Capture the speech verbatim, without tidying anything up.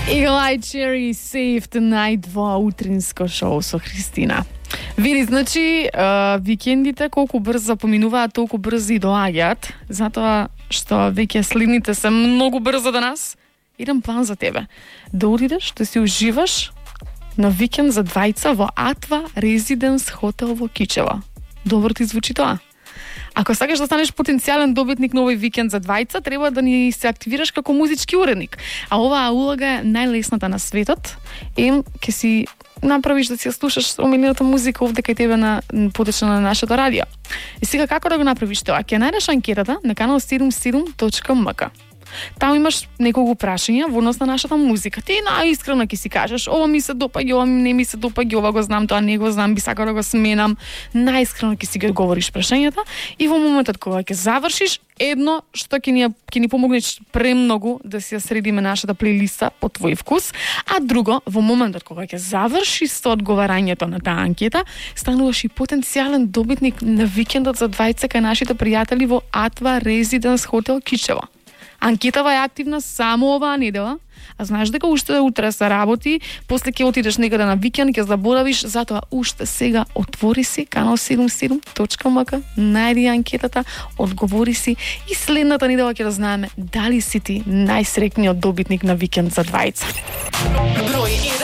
Eagle-Eye Cherry Save the Night во утринско шоу со Христина. Види, значи, uh, викендите колку брзо поминуваат, толку брзо и доаѓаат, затоа што веќе следните се многу брзо до нас. Идем план за тебе. Да одидеш, да си уживаш на викенд за двајца во Атва Резиденс хотел во Кичево. Добро ти звучи тоа? Ако сакаш да станеш потенцијален добитник на овој викенд за двајца, треба да ни се активираш како музички уредник. А оваа улога е најлесната на светот. И ќе си направиш да си ја слушаш омилената музика овде кај тебе на потечна на нашето радио. И сега како да го направиш тоа? Ќе најдеш анкетата на канал седумдесет и седум точка ем ка. Таму имаш неколку прашања во однос на нашата музика. Ти најискрено ќе си кажеш, ова ми се допаѓа, ова не ми се допаѓа, ова го знам, тоа не го знам, би сакал да го сменам. Најискрено ќе си ги одговориш прашањата и во моментот кога ќе завршиш, едно што ќе ни ќе ни помогне премногу да си ја средиме нашата плейлиста по твој вкус, а друго, во моментот кога ќе завршиш со одговарањето на таа анкета, стануваш и потенцијален добитник на викендот за двајца кај нашите пријатели во Атва Резиденс хотел Кичево. Анкетава е активна само оваа недела, а знаеш дека уште утре се работи, после ќе отидеш некаде на викенд, ќе заборавиш, затоа уште сега отвори си канал седумдесет и седум точка ем ка, најди анкетата, одговори си и следната недела ќе да знаеме дали си ти најсреќниот добитник на викенд за двајца.